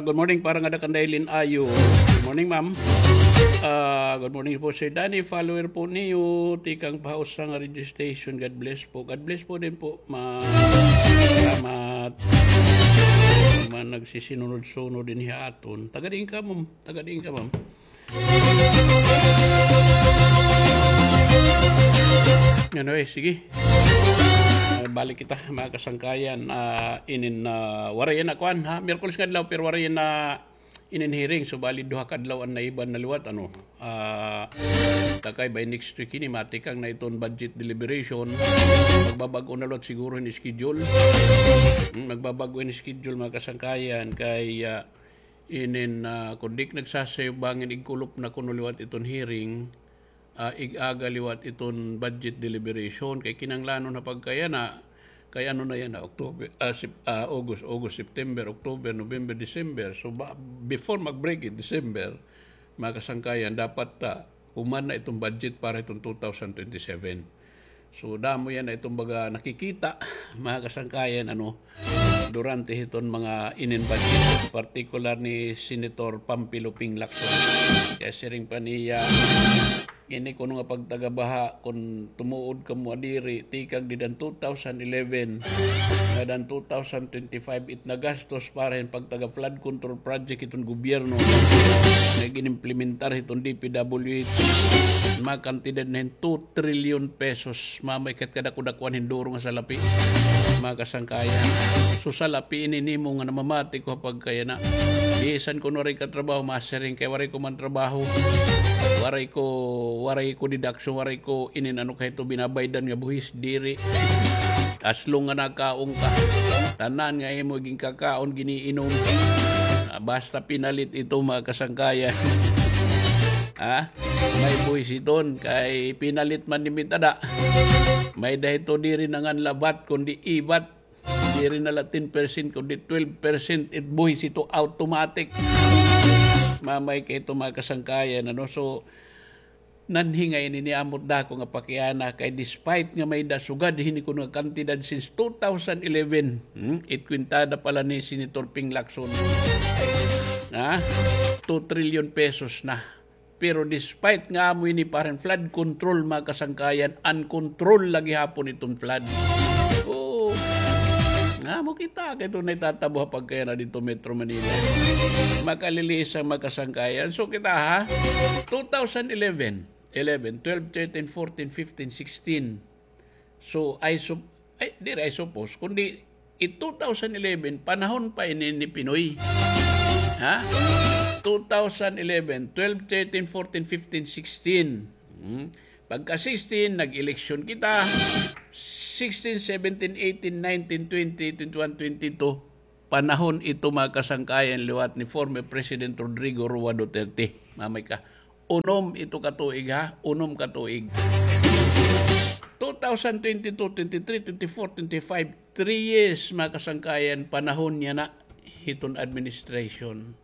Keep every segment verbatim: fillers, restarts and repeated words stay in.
Good morning, para nga dakan Dailin Ayo. Good morning, ma'am. Ah, good morning po, Sir Danny. Follower po niyo. Tikang pa ha usa nga radio station. God bless po. God bless po din po, ma'am. Salamat. Mga nagsisinunod-sunod din ha aton. Taga diin ka, ma'am? Taga diin ka, ma'am? Anyway, sige. Ah, balik kita, mga kasangkayan. Ah, inin, ah, waray na kuan, ha? Miyerkules nga adlaw, pero waray na inin hearing. So, bali, duha ka adlaw an naiban na liwat, ano? Ah, takay by next week ini, matikang na iton budget deliberation. Magbabag-o na liwat siguro hin schedule. Hmm, magbabag-o hin schedule, mga kasangkayan, kay, ah, inin, ah, kon di nagsasayo bangin igkulop na kuno liwat iton hearing, ah, ig-aga liwat iton budget deliberation. Kay kinahanglanon ha pagkayana, kay ano na yana, October, ah, Sep-, ah, August, August, September, October, November, December. So, ba, before mag-break it December, mga kasangkayan, dapat, ah, human na iton budget para iton two thousand twenty-seven. So, damo yana iton baga nakikita, mga kasangkayan, ano, durante hiton mga inin budget, particular ni Senator Pampilo Ping Lacson. Kay siring pa niya, ini kuno nga pagtagabaha, kon tumuod kamo diri, tikang dida han two thousand eleven, ngada han two thousand twenty-five, it nagastos para hin pagtaga-flood control project hiton gobyerno nga gin-implementar hiton D P W H, mga kantidad na hin two trillion pesos, mamay, kat kadako-dakuan hin duro nga salapi, mga kasangkayan. So, salapi ini nimo nga namamati ko ha pagkayana. Bisan kon waray ka trabaho, masiring kay waray ko man trabaho. Waray ko, waray ko deduction, waray ko inin ano kay ito binabaydan nga buhis, diri. As long nga nakaon ka, tanan nga imo ginkakaon, giniinom. Ah, basta pinalit ito, mga kasangkayan. Ha? May buhis iton, kay pinalit man ni mitada. May-ada ito diri nangan labat, kundi ibat. Diri na la ten percent, kundi twelve percent it buhis ito automatic. Mamay kay ito, mga kasangkayan, ano? So, nanhi nga ini ni amot dako nga pakiana, kay despite nga may-ada sugad hini kuno nga kantidad since two thousand eleven, hmm, it kwintada pa la ni Senator Ping Lacson. Ha? Two trillion pesos na. Pero despite nga amo ini para hin flood control, mga kasangkayan, uncontrol la gihapon iton flood. Oo. Nga mo kita, kay ito na itatabo ha pagkayana dito Metro Manila. Makaliliis an mga kasangkayan. So kita ha, two thousand eleven, eleven, twelve, thirteen, fourteen, fifteen, sixteen. So, I sup-, ay, diri I suppose, kundi it two thousand eleven, panahon pa ini ni Pinoy. Ha? Two thousand eleven, twelve, thirteen, fourteen, fifteen, sixteen. Hmm. Pagka sixteen, nag-eleksyon kita. Sixteen, seventeen, eighteen, nineteen, twenty, twenty-one, twenty-two. Panahon ito, mga kasangkayan, liwat ni former President Rodrigo Roa Duterte. Mamay ka. Unom ito ka tuig, ha? Unom ka tuig. Two thousand twenty-two, twenty-three, twenty-four, twenty-five, three years, mga kasangkayan, panahon niya na hiton administration.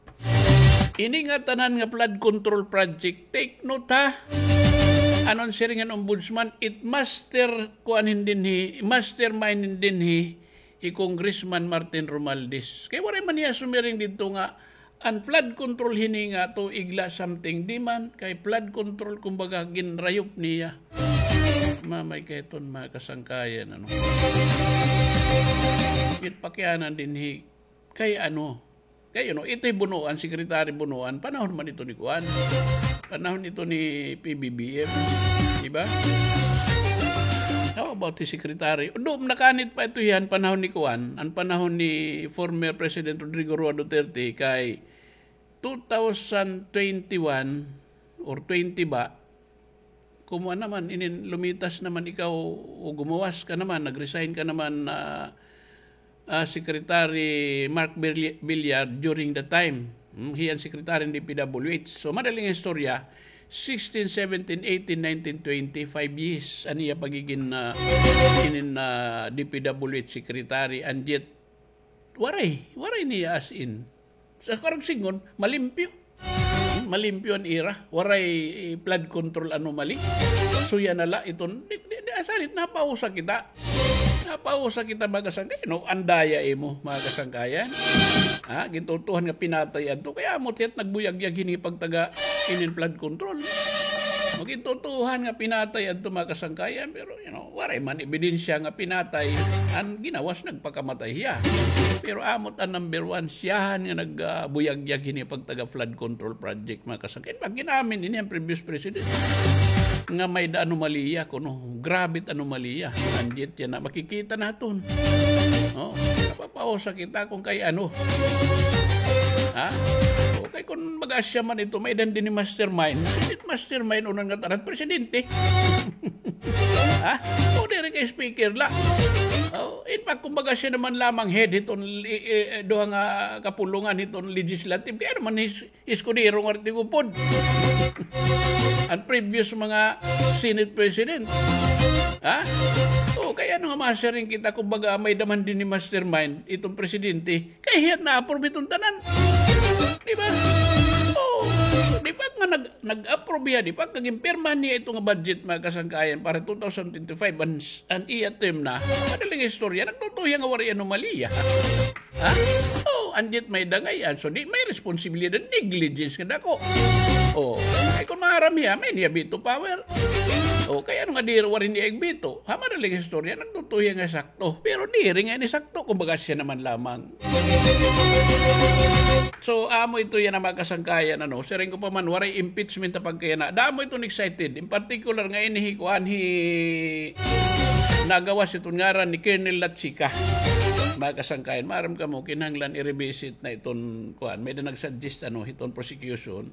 Ini nga tanan nga flood control project, take note, ha? Ano an siring han ombudsman, it master kuan hin dinhi, mastermind hin dinhi, hi Congressman Martin Romualdez. Kay waray man niya sumiring didto nga an flood control hini nga tuig la something, di man, kay flood control kumbaga ginrayop niya. Mamay kay iton mga kasangkayan, ano. It pakianan dinhi kay ano, kay, you know, ito hi Bonoan, Secretary Bonoan, panahon man ito ni kuan. Panahon ito ni P B B M, di ba? How about the secretary? Do, nakanit pa ito hiya han panahon ni kuan, an panahon ni former President Rodrigo Roa Duterte kay two thousand twenty-one or twenty ba, kumuan naman, inin lumitas naman ikaw o gumawas ka naman, nag-resign ka naman, ah, ah, Secretary Mark Villi-, Villar during the time. Hmm, hiya an secretary hin D P W H. So, madaling istorya, sixteen, seventeen, eighteen, nineteen, twenty, five years an iya pagigin, ah, inin, ah, D P W H secretary, and yet, waray, waray niya as in. Sa karagsingon, malimpyo. Hmm, malimpyo an ira. Waray, eh, flood control anomaly. Suya na la iton, di, di, di, asalit napausa kita. Pausa kita, mga kasangkayan. No, andaya imo, mga kasangkayan. Ha, gintutuhan nga pinatay adto. Kay amo it nagbuyag-yag hini pagtaga inin flood control. Gintutuhan nga pinatay adto, mga kasangkayan. Pero, you know, waray man ebidensya nga pinatay. An ginawas nagpakamatay hiya. Pero amo it an number one, siyahan nga nag, ah, buyag-yag hini pagtaga flood control project, mga kasangkayan. Pag ginamin ini an previous president nga may-da anomalya kuno. Grabe it anomalya. Anggid yana, makikita naton. Oh, napapausa kita kon kay ano. Ha? O, kay kon baga asya man ito, may-da dinhi mastermind. Sinit mastermind, unan nga tanan, presidente. Ha? O, diri kay speaker la. O, in fact, kon baga asya naman lamang head hiton, i-, i-, duha nga kapulungan hiton legislative. Kay ano man his Escudero nga rin tigupod. An previous mga Senate President. Ha? O, kay ano nga masiring kita, kumbaga, may-da man dinhi mastermind, iton presidente, kay hiya it na-approve iton tanan. Di ba? O, di ba nga nag-, nag-approve hiya, di ba? Kag ginpirmahan niya ito nga budget, mga kasangkayan, para two thousand twenty-five, an, an iya term na. Madaling istorya, nagtutuya nga waray anomalya. Ha? O, anggid may-da ngay-an. So, di may responsibilidad, negligence nga dako. O, kay kon maaram hiya, may niya veto power. O, kay ano nga di waray niya ig-veto? Ha, madaling istorya, nagtutuya nga sakto. Pero diri nga ini sakto, kumbaga asya naman lamang. So, amo ito yana, mga kasangkayan, ano, siring ko pa man, waray impeachment ha pagkayana. Damo iton excited. In particular nga ini hi kuan, hi nagawas iton ngaran ni Colonel Lachica. Mga kasangkayan, maaram kamo, kinahanglan i-revisit na iton kuan. May-da nag-suggest, ano, hiton prosecution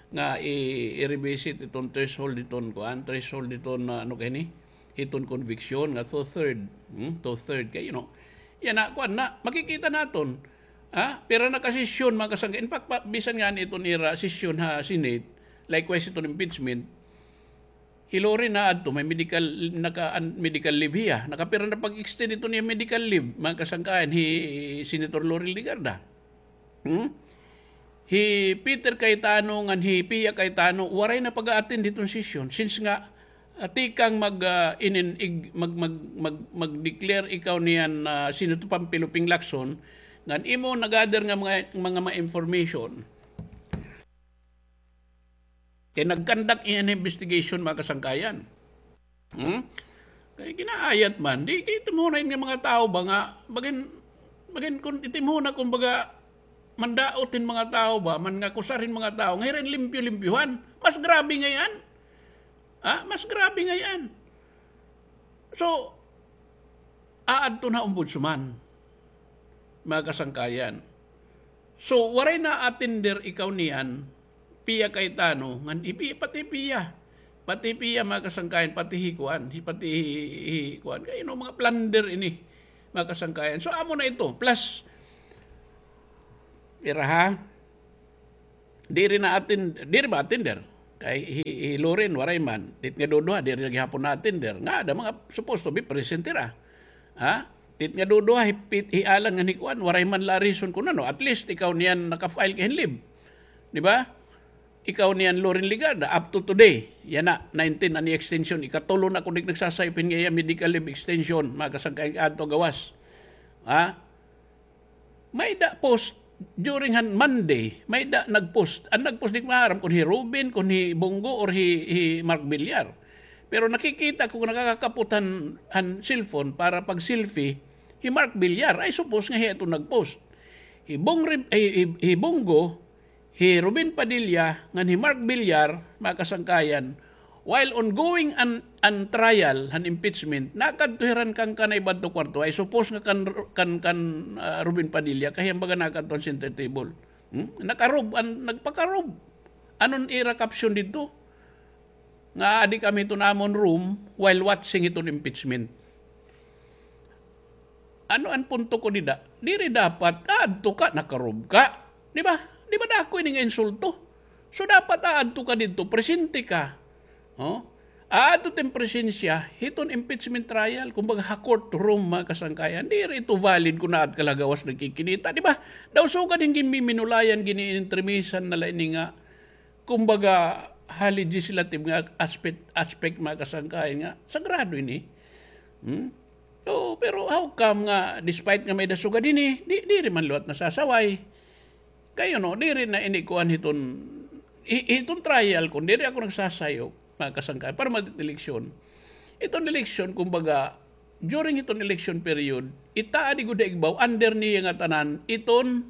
nga i-, i-revisit iton threshold hiton kuan, threshold hiton, ah, ano kay ni? Hiton conviction nga two-third. Hmm? Two-third kay, you know. Yana, kuan na, makikita naton. Ha? Pira na ka sesyon, mga kasangkayan. In fact, pa, bisan ngani iton ira sesyon ha Senate, likewise iton impeachment, hi Loren na adto, may medical, naka, an, medical leave hiya. Nakapira na pag-extend iton iya medical leave, mga kasangkayan, hi Senator Loren Legarda. Hmm? Hi Peter Cayetano ngan hi Pia Cayetano, waray na pag-a-attend hiton sesyon. Since nga, ah, tikang mag, ah, inin-, ig-, mag, mag, mag, mag-declare ikaw niyan, ah, Senator Panfilo Ping Lacson, ngan imo na-gather nga mga, mga, mga information. Kay nag-conduct iyan investigation, mga kasangkayan. Hmm? Kay ginaayat man, di kay itimhuna nga mga tawo ba nga, bagin, bagin kun itimhuna, kumbaga, mandaot hin mga tawo ba, man nga kusar hin mga tawo, nga hirin limpyo-limpyuhan. Mas grabe ngay-an. Ha? Mas grabe ngay-an. So, aadto na ombudsman, mga kasangkayan. So, waray na-attender ikaw niyan, Pia Cayetano, ngan hi Pi-, pati Pia, pati Pia, mga kasangkayan, pati hi kuan, hi, pati hi, hi kuan. Kay, you know, mga plunder ini, mga kasangkayan. So, amo na ito. Plus, pira ha? Diri na-attend-, diri ma-attender. Kay hi, hi Loren, waray man. Tit nga duduha, diri na gihapon na-attender. Nga, ada mga supposed to be present hira. Ha? Tit nga duduha, hi Pit-, hi Alan ngan hi kuan, waray man la reason kun ano. At least, ikaw niyan naka-file ka hin leave. Di ba? Ikaw niyan, Loren Legarda, up to today. Yana, nineteen, an extension. Ikatulo na kun di nagsasayop hin nga iya medical leave extension. Mga kasangkayan, adto gawas. Ha? May-da post during han Monday, may-da nag-post. An nag-post, di ko maaram kun hi Robin, kun hi Bong Go, or hi, hi Mark Villar. Pero nakikita ko nakakakapot han, han cellphone para pag-selfie, hi Mark Villar. I suppose nga hiya ito nag-post. Hi Bong Re-, hi, hi, hi Bong Go, hi Robin Padilla ngan hi Mark Villar, mga kasangkayan, while ongoing an, an trial han impeachment, nakadto hira han kangkanay ba adto kwarto, I suppose nga kan, kan, kan, ah, Robin Padilla, kay hiya baga nakadto han center table. Hmm? Naka-robe, an, nagpaka-robe. Ano an ira caption didto? Nga aadi kami hiton amon room while watching hiton impeachment. Ano an punto ko dida? Diri dapat aadto ka, naka-robe ka. Di ba? Di ba dako ini nga insulto? So, dapat aadto ka didto, presente ka. Oh? Aadto it im presensya hiton impeachment trial, kumbaga ha courtroom, mga kasangkayan. Diri ito valid kun aad ka la ha gawas nagkikinita, di ba? Daw sugad hin ginmiminulayan, giniintrimisan na la ini nga kumbaga, ha legislative nga aspect, aspect, mga kasangkayan, nga sagrado ini. Hmm? Oo, pero how come nga despite nga may-ada sugad hini, di, diri man liwat nasasaway? Kay, you know, diri na ini kuan hiton, hi-, hiton trial, kon diri ako nagsasayop, mga kasangkayan, para madi eleksyon. Iton eleksyon, kumbaga, during iton election period, itaad gud ha igbaw, under niya nga tanan, iton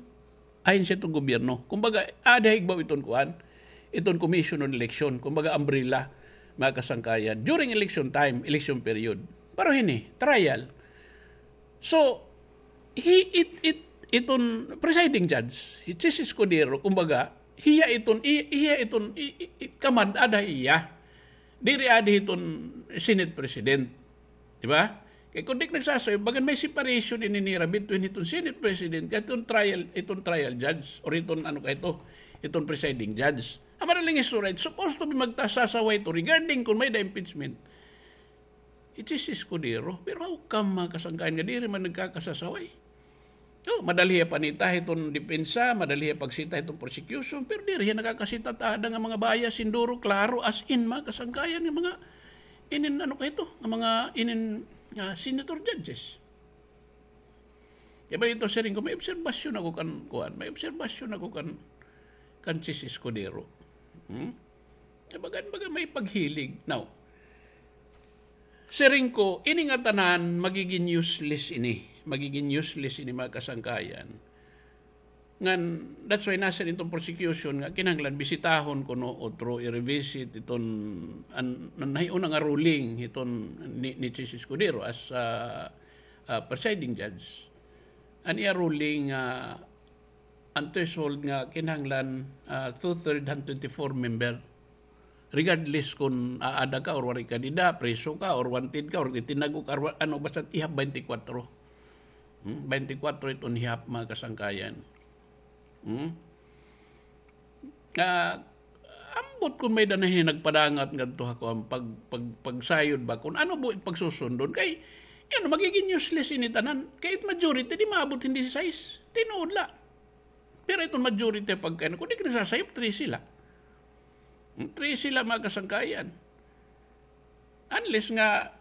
ahensya iton gobyerno. Kumbaga, aada ha igbaw iton kuan, iton Commission on Election, kumbaga umbrella, mga kasangkayan. During election time, election period. Pero hini, trial. So, hi-, it, it, iton presiding judge, hi Chiz Escudero, kumbaga, hiya iton, i-, hiya iton, i-, i-, i-, command aada ha iya. Diri aada hiton Senate President. Di ba? Kay kon di ak nagsasayop, bagan may separation ini nira between hiton Senate President, kay iton trial, iton trial judge, or iton ano kay ito, iton presiding judge. An madaling istorya, it's supposed to be magkasasaway ito regarding kon may-ada impeachment. Hi Chiz Escudero. Pero how come, mga kasangkayan, nga diri man nagkakasasaway? O, madali hiya panita hiton depensa, madali hiya pagsita hiton prosecution, pero diri hiya nakakasita ta aada nga mga bias, sinduro, klaro, as in, mga kasangkayan, nga mga inin, ano kay ito, nga mga inin, ah, senator judges. Kay ba ito, siring ko, may obserbasyon ako kan, kuan, may obserbasyon ako kan, kan Chiz Escudero. Hmm? Kay bagan, bagan may paghilig. Now, siring ko, ini nga tanan, magigin useless ini. Magigin useless ini, mga kasangkayan. Ngan, that's why nasiring iton prosecution nga kinahanglan bisitahon kuno otro i-revisit iton an, an nahiuna nga ruling hiton ni, ni Chiz Escudero as, ah, ah, presiding judge. An iya ruling, ah, an threshold nga kinahanglan, ah, two-third han twenty-four member. Regardless kon aada ka or waray ka dida, preso ka or wanted ka or titinago ka or wa-, ano, basta ihap twenty-four. Hmm? Twenty-four iton ihap, mga kasangkayan. Hmm? Ah, ambot kon may-ada na hin nagpadangat ngadto ha kuan pag, pag, pagsayod ba kon ano buot pagsusundon. Kay, yun, magigin useless ini tanan. Kay it majority, di maabot hin disisais. Tinuod la. Pero iton majority pagkain, kon di ka nagsasayop, trese la. Hmm, trese la, mga kasangkayan. Unless nga,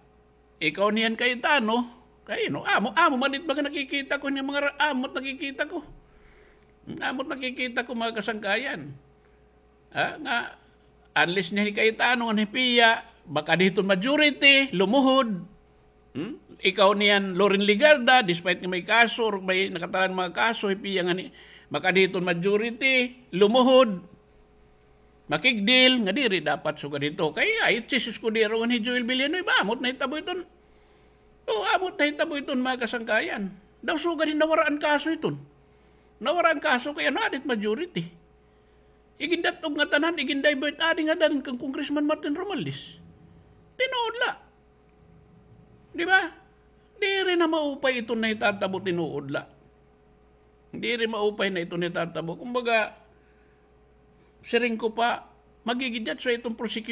ikaw niyan Cayetano, kay, no, amo, amo man it mga nakikita ko, nga mga ra-, amo it nakikita ko. Hmm, amo it nakikita ko, mga kasangkayan. Ha, nga, unless niyan hi Cayetano nga hi Pia, makadi hiton majority, lumuhod. Hmm? Ikaw niyan, Loren Legarda, despite nga may kaso, or may nakatalan mga kaso, hi Pia nga ni, makadi hiton majority, lumuhod. Makigdil, nga diri dapat sugad hito. Kay, ay, Chiz Escudero nga hi Joel Villanueva, amo it nahitabo iton. O, amo it nahitabo iton, mga kasangkayan. Daw sugad hin nawara an kaso iton. Nawara an kaso, kay ano, aada it majority. Igindat-og nga tanan, igindivert, aada nga dan kan Congressman Martin Romualdez. Tinuod la. Di ba? Diri na maupay iton nahitatabo, tinuod la. Diri maupay na iton nahitatabo. Kumbaga, siring ko pa, magigin, that's why iton prosecution